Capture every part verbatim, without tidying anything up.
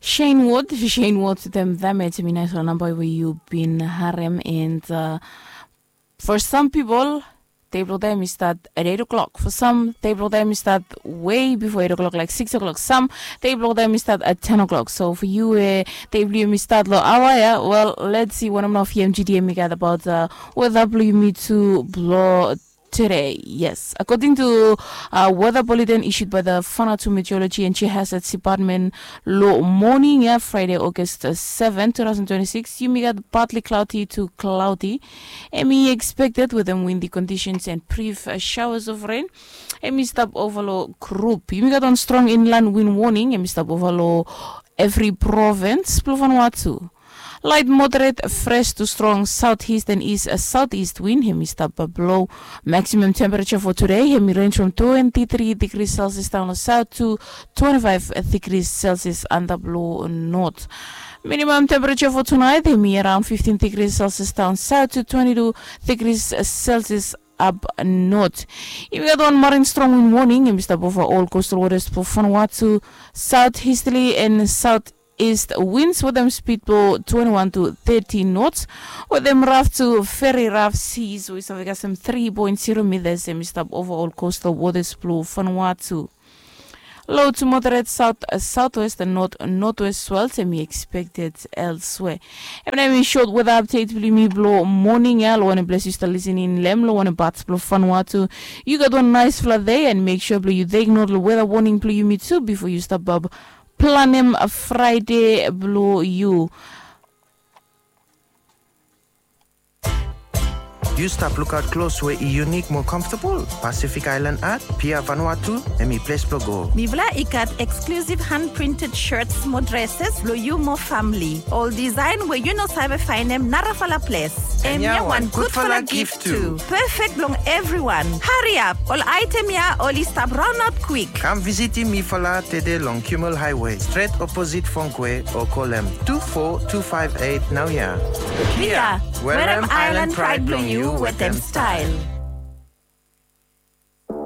Shane Ward, Shane Ward wetem Damage. Hemi naesfala namba we yu bin harem. And uh, for some people, dei blong dem i start at eight o'clock. For some, dei blong dem i start way before eight o'clock, like six o'clock. Some, dei blong dem i start at ten o'clock. So for you, uh, dei blong yumi start long aoa ya. Well, let's see wanem nao V M G D M i gat about uh, weather blong yumi tu blong today. Yes, according to uh, weather bulletin issued by the Vanuatu Meteorology and Geohazards Department, long moning ya, Friday, August uh, seven, two thousand twenty-six, yumi gat partly cloudy to cloudy. Hemi expected wetem windy conditions and brief uh, showers of rain. Hemi stap ova long Group. Yumi gat wan strong inland wind warning. Hemi stap ova long evri provins blong Vanuatu. Light moderate, fresh to strong southeast and east, uh, southeast wind hemi stap blo. Maximum temperature for today hemi range from twenty-three degrees Celsius down south to twenty-five degrees Celsius under blo north. Minimum temperature for tonight hemi around fifteen degrees Celsius down south to twenty-two degrees Celsius up north. Yumi gat wan marin strong wind warning hemi stap ova all coastal waters for Vanuatu, southeasterly and south east winds wetem speed blo twenty-one to thirty knots, wetem rough to very rough seas we i save kasem three point zero meters. Hemi stap ova all coastal waters blo Vanuatu. Low to moderate south uh, southwest and north northwest swells hemi expected elsewhere. Hemi nao hemi short weather update blo yumi blo moning ya. Long wanem ples yu stap listening long wanem parts blo Vanuatu, yu gat wan naesfala dei and make sure blo yu take note long weather warning blo yumi tu bifo yu stap bab planem Friday blo yu. Yu stap lukaot klos we i unique mo comfortable? Pacific Island Art, Pier Vanuatu, hemi ples blo go. Mifala i gat exclusive hand printed shirts mo dresses blo yu mo famili. Ol design we yu no save faenem narafala ples. Hemia wan gudfala gift tu. Perfect blong evriwan. Hariap, ol aetem ya oli stap raonaot kwik. Kam visitim mifala tede long Kimmel Highway, stret oposit Fongkwe, o kolem two four two five eight naoia. Pia, werem island pride blong yu wetem style.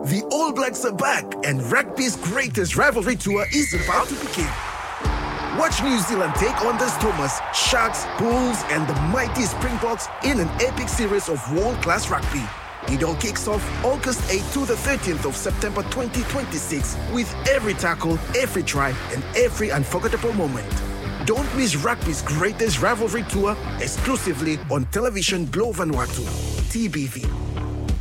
The All Blacks are back, and rugby's greatest rivalry tour is about to begin. Watch New Zealand take on the Stormers, Sharks, Bulls, and the mighty Springboks in an epic series of world-class rugby. It all kicks off August eighth to the thirteenth of September twenty twenty-six, with every tackle, every try, and every unforgettable moment. Don't miss rugby's greatest rivalry tour, exclusively on Television Globe Vanuatu, T B V.